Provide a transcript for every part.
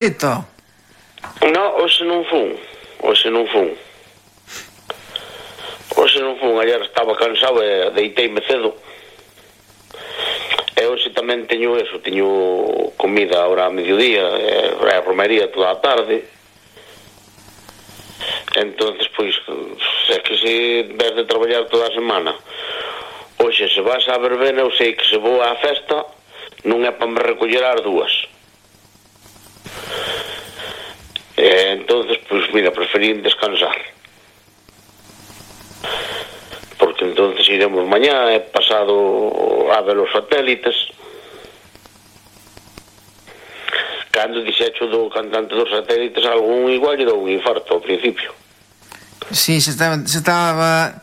Eto. No, hoxe non fun. Ayer estaba cansado e deiteime cedo. E hoxe tamén teño comida ahora a mediodía e romería toda a tarde. Entonces, pois, é que se ves de traballar toda a semana, hoxe se vas á verbena, eu sei que se vou á festa non é para me recoller ás 2. Entonces, pois, mira, preferí descansar. Porque entonces iremos mañá e pasado a ver os satélites. Cando dixecho do cantante dos satélites, algún igual lle dou un infarto ao principio. Sí, se estaba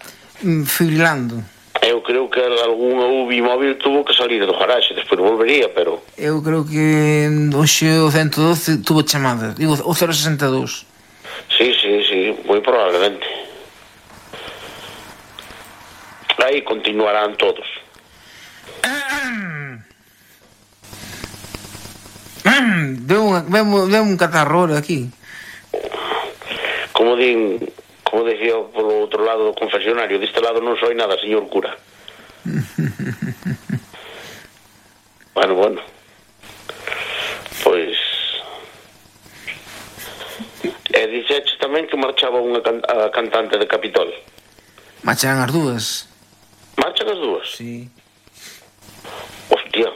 fibrilando. Eu creo que algún UBI móvil tuvo que salir do garaxe, despois volvería, pero... Eu creo que hoxe o 112 tuvo chamada, digo, o 062. Sí, moi probablemente. Aí continuarán todos. Veo un catarro aquí. Como decía polo outro lado do confesionario, deste lado non soy nada, señor cura. Bueno. Pois... E dixeches tamén que marchaba unha cantante de Capitol. Marchan as dúas. Marchan as dúas? Sí. Hostia.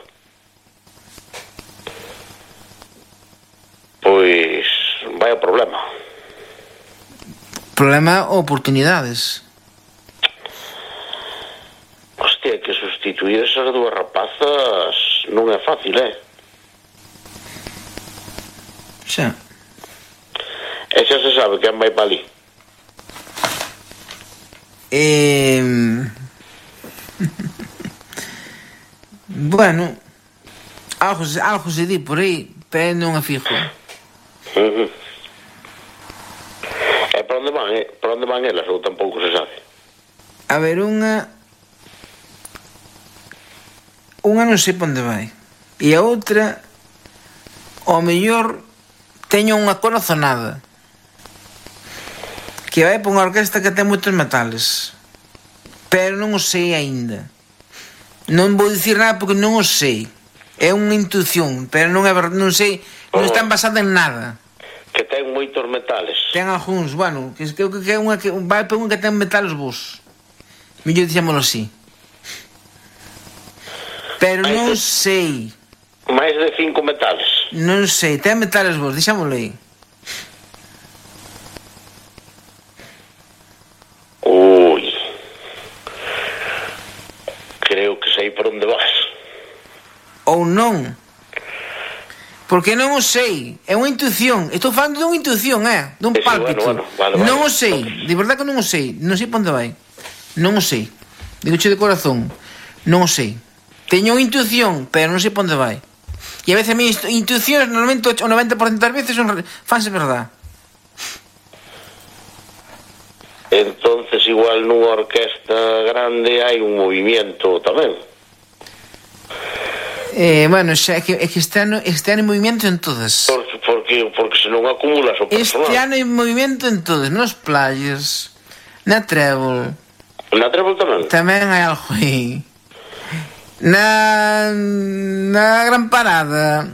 Pois... vaya problema. Problema ou oportunidades. Hostia, que sustituir esas dúas rapazas non é fácil, Xa. E xa se sabe quen vai para ali. Bueno, algo se di por aí, pero non a fijo. E para onde van elas ou tampouco se sabe? A ver, unha non sei para onde vai. E a outra, ao mellor, teño unha corazonada que vai para unha orquesta que ten moitos metales, pero non o sei aínda. Non vou dicir nada porque non o sei. É unha intuición, pero non é verdade, non sei, non está basada en nada. Que ten moitos metales. Ten algúns, bueno, que é unha que vai para unha que ten metales vos. Mellor dixémolo así. Pero non sei. Mais de 5 metales. Non sei, ten metales vos, dixémolo aí. Ui. Creo que sei por onde vas. Ou non. Porque non o sei. É unha intuición. Estou falando dunha intuición, dun pálpito. Vale. Non o sei. De verdade que non o sei. Non sei para onde vai. Non o sei. Digoche de corazón. Non o sei. Teño unha intuición, pero non sei para onde vai. E a veces a minha intuicións, normalmente o 90% das veces fanse verdade. Entonces igual nunha orquesta grande hai un movimiento tamén. Bueno, xa é que este ano hai movimento en todas. Porque se non acumulas o personal. Este ano hai movimento en todas, nos playas, na trébol. Na trébol tamén? Tamén hai algo aí. Na Gran Parada.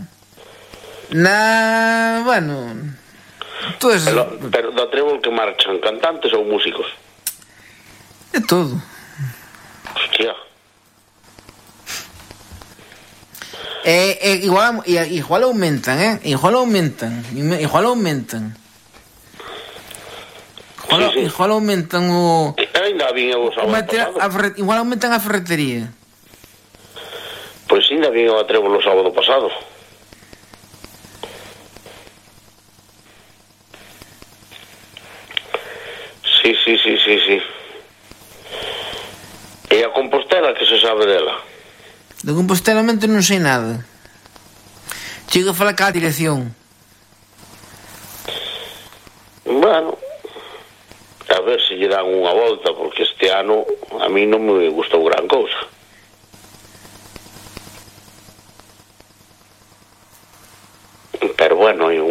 Bueno, todas. Pero da trébol que marchan cantantes ou músicos? É todo. Hostia. Igual aumentan, Igual aumentan. Igual aumentan o... Ainda vin eu o sábado pasado. Igual aumentan a ferretería. Pois ainda vin eu a trébol o sábado pasado. Sí. E a Compostela, que se sabe dela? De Compostela non sei nada. Chego a falar ca dirección. Bueno, a ver se lle dan unha volta, porque este ano a mí non me gustou gran cousa.